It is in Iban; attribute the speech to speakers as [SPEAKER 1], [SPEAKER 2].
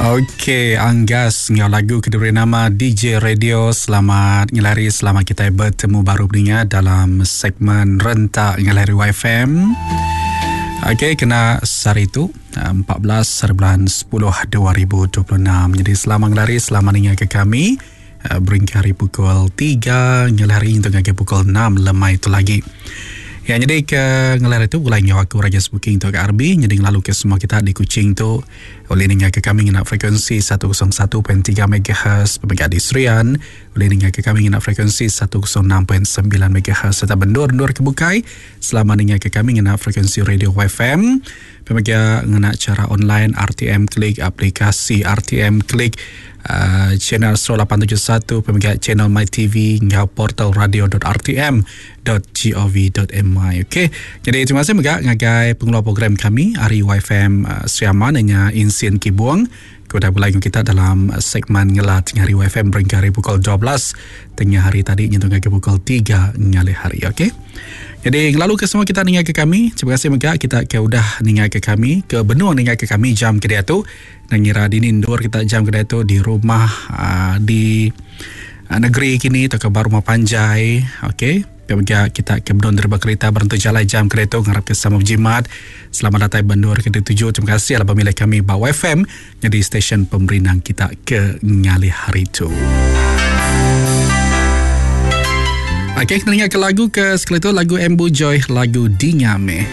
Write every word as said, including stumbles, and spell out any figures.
[SPEAKER 1] Okey, Anggas enggau lagu ke diberi nama D J Radio. Selamat ngelari, selamat kita bertemu baru peninga dalam segmen Rentak Ngelari Y F M. Okey, kena sehari tu empat belas bulan sepuluh dua ribu dua puluh enam. Jadi selamat ngelari, selamat ninga ke kami beringkai hari pukul tiga ngelari untuk ngagai pukul enam lemai itu lagi. Ya, jadi ke ngelar itu mulai nyawa aku Raja Booking untuk ke R B. Jadi ngelalu ke semua kita di Kuching tu oleh ninga ke kami ngena frekuensi seratus satu perpuluhan tiga megahertz pemegang di Serian, oleh ninga ke kami ngena frekuensi seratus enam perpuluhan sembilan megahertz serta bendur-bendur ke bukai. Selama ninga ke kami ngena frekuensi radio Y F M. Pemegang ngena cara online R T M Klik, aplikasi R T M Klik, uh, channel Astro lapan tujuh satu, pemegang channel My T V ngau portal radio dot R T M dot G O V dot M Y. Okey. Jadi terima kasih juga ngagai pengelola program kami Ari Y F M uh, Sri Aman dengan Insin Kibuang. Kepada mulai kita dalam segmen ngelat tengah hari Y F M beringkai hari pukul dua belas tengah hari tadi nyentuh ke pukul tiga ngalih hari. Okey. Jadi lalu ke semua kita ningai ke kami. Terima kasih mega kita ke udah ningai ke kami, ke benua ningai ke kami jam ke dia tu. Ngira dini ndur kita jam ke dia tu di rumah, uh, di, uh, negeri kini atau ke rumah panjai. Okey. Pemega kita ke benua derba kereta berhenti jalan jam kereta ngarap ke sama berjimat. Selamat datang benua ke tujuh. Terima kasih lah pemilik kami Bau F M jadi stesen pemerinang kita ke ngalih hari tu. Okey, kita dengar ke lagu ke sekali tu, lagu Embu Joy, lagu Dingame.